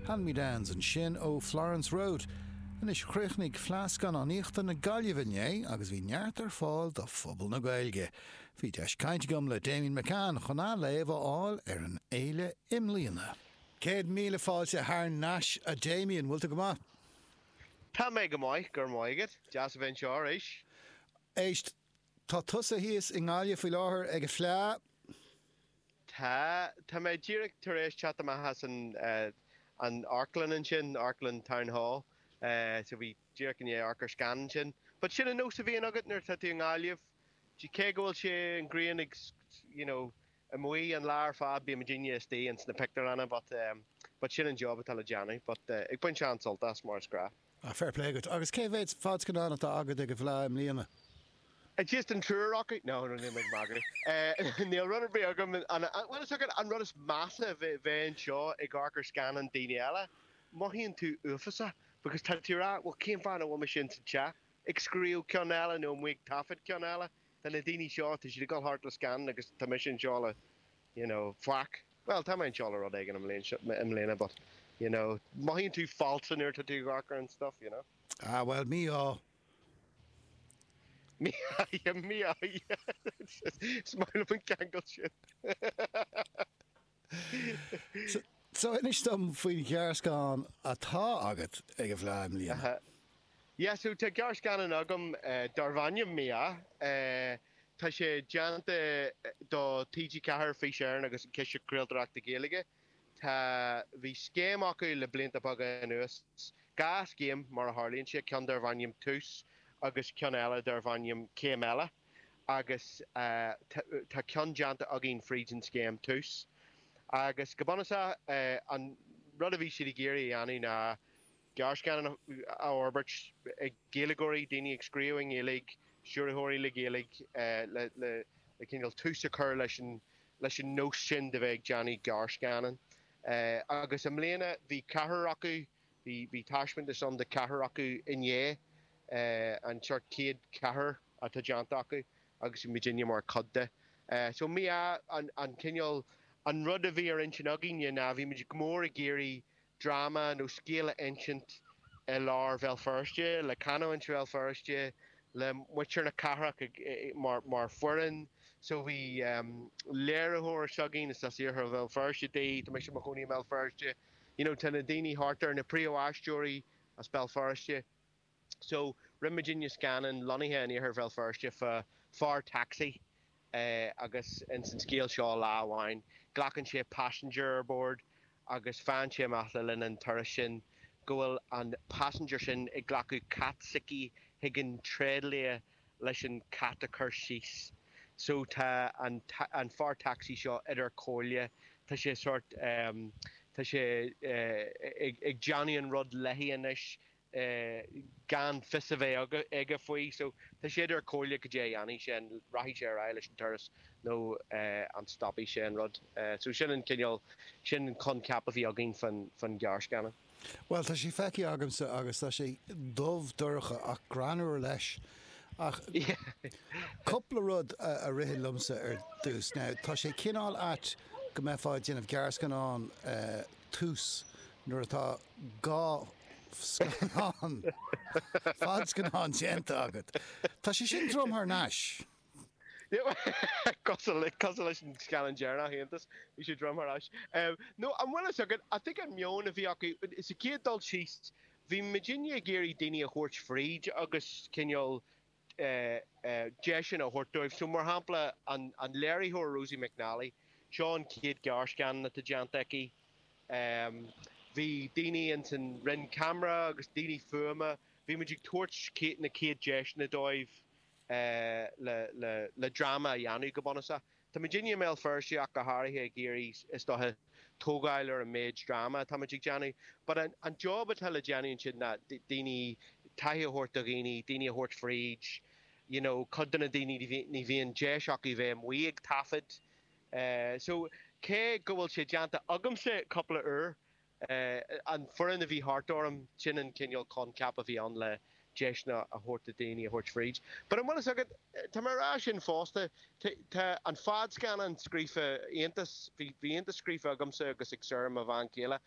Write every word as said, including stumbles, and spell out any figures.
Hand Me Downs ansin ó Florence Road. Anois chríochnaigh Fleadh Scannánaíochta na Gaillimhe inné agus bhí neart ar fáil do phobal na Gaeilge. Bhí deis cainte agam le Damien McCann chun a léamh a fháil ar an fhéile i mbliana. Céad míle fáilte thar n-ais a Damien, bhfuil tú go maith? Tá mé go maith gur maigad deas a bheith anseo arís. Éist tá tusa thíos i nGaillimh faoi láthair ag an Fleadh? Tá tá mé díreach tar éis teacht amach as an an amharclann ansin, Amharclann Town Hall, so bhí díreach i ndiaidh amharc ar scannán ansin. But sin an nós a bhíonn agat nuair atá tú i nGaillimh, cé go bhfuil sé an ghrian ag you know, amuigh an lá ar fad bíonn muidinne istigh ins na pictiúrlanna but um, but sin an job atá le déanamh, but uh, ag baint an-sult as mar is gnách. Ah, fair play agat. Agus cé mhéad fadscannán atá agat ag an bhFleadh i mbliana? Just an triúr acu? No, no, níl mé ag magadh. Níl rud ar bith agam an well is an rud is measa bheith anseo ag amharc ar scannán daoine eile, mothaíonn tú uafásach because tá tú rá, well cén fáth nach bhfuil mise insa teach ag scríobh ceann eile nó amuigh ag taifead ceann eile. Tá na daoine seo tá siad ag dul thart le scannán agus tá mise anseo le you know, faic. Well tá mé anseo le rud éigin i mbliana but you know, mothaíonn tú falsa nuair atá tú ag amharc ar an stuff, you know. Ah well mí-ádh. Mí mí Is maith an ceangal sin. So inis dom faoin ghearrscannán atá agat ag an bhFleadh i mbliana. Yeah, so tá gearrscannán agam uh, darb ainm Mí-ádh. Uh, tá sé déanta do TG Ceathair Fís Éireann agus an Ciste Craoltóireachta Gaeilge. Tá bhí scéim acu le blianta beaga anuas. Dhá scéim mar a tharlaíonn sé ceann darb ainm Tús agus ceann eile darb ainm Céim Eile. agus uh, tá ceann déanta againn fríd an scéim Tús. Agus go bunúsach uh, an rud a bhí siad ag iarraidh a dhéanamh ná gearrscannán a fhorbairt ag Gaeilgeoirí daoine ag scríobh i nGaeilge, stiúrthóirí le Gaeilge uh, le, le, le cineál tús a chur leis an leis an nós sin de bheith ag déanamh gearrscannán. Uh, agus i mbliana bhí ceathrar acu bhí bhí taispeántas ann de ceathrar acu inné uh, an sort céad ceathrar atá déanta acu agus muidinne mar chuid de. Uh, so mí an, an cineál an rud a bhí ar intinn againne ná bhí muid go mór ag iarraidh dráma nó scéal a insint i lár Bhéal Feirste le canúint Bhéal Feirste le muintir na cathrach mar, mar foireann, so bhí um, léiritheoir s'againn is as iarthar Bhéal Feirste di, tá mise i mo chónaí i mBéal Feirste. You know, tá na daoine thart ar na príomhaisteoirí as Béal Feirste. So rinne muidinne scannán lonnaithe in iarthar Bhéal Feirste fá fear taxi uh, agus in san scéal seo lá amháin. Glacann sé passenger ar bord agus faigheann sé amach le linn an turas sin go bhfuil an passenger sin ag glacadh cat s'aici chuig an tréidlia leis an cat a chur síos. So tá an, an fear taxi seo idir chomhairle, Tá sé sort um, tá sé uh, ag, ag déanamh an rud léi anois uh, gan fios a bheith aige faoi, so tá sé idir chomhairle go dé dhéanfaidh sé an rachaidh sé ar aghaidh leis an turas nó uh, an stopfaidh sé an rud. Uh, so sin an cineál sin an coincheap a bhí againn fan fan gearrscannán. Well tá sé feicthe agamsa agus tá sé dubh dorcha ach greannmhar leis. Ach cúpla rud a, a rith liomsa ar dtús. Now, tá sé cineál ait go mbeifeá ag déanamh gearrscannán uh, tús nuair atá dhá scannán fadscannán déanta agat. Tá sé sin drom thar n-ais. Cosúil leis an scannán deireanach iontas bhí sé drom thar ais. No an bhfuil agad I think an meon a bhí acu sa chéad dul síos bhí muidinne ag iarraidh daoine a thabhairt fríd agus cineál deiseanna a thabhairt dóibh. So mar shampla an, an léiritheoir Rosie McNally, seo an chéad ghearrscannán atá déanta aici. Um, bhí daoine in san roinn ceamara agus daoine fuaime, bhí muid ag tabhairt na chéad deiseanna dóibh uh, le, le, le dráma a dhéanamh go bunúsach. Tá muidinne i mBéal Feirste ach go háirithe ag iarraidh is dócha tógáil ar an méid dráma tá muid ag déanamh. But an, an job atá le déanamh sin ná daoine taithí a thabhairt do dhaoine, daoine a thabhairt fríd, you know, cuid de na daoine ní bhíonn deis acu bheith amuigh ag taifead. Uh, so cé go bhfuil sé déanta agamsa cúpla uair uh, an foireann a bhí thart orm sin an cineál coincheap a bhí ann le deiseanna a thabhairt do daoine a thabhairt fríd. But an bhfuil agad tá mar rá sin fosta tá an fadscannán scríofa iontas bhí iontas scríofa agamsa agus ag Sarah mo bhean chéile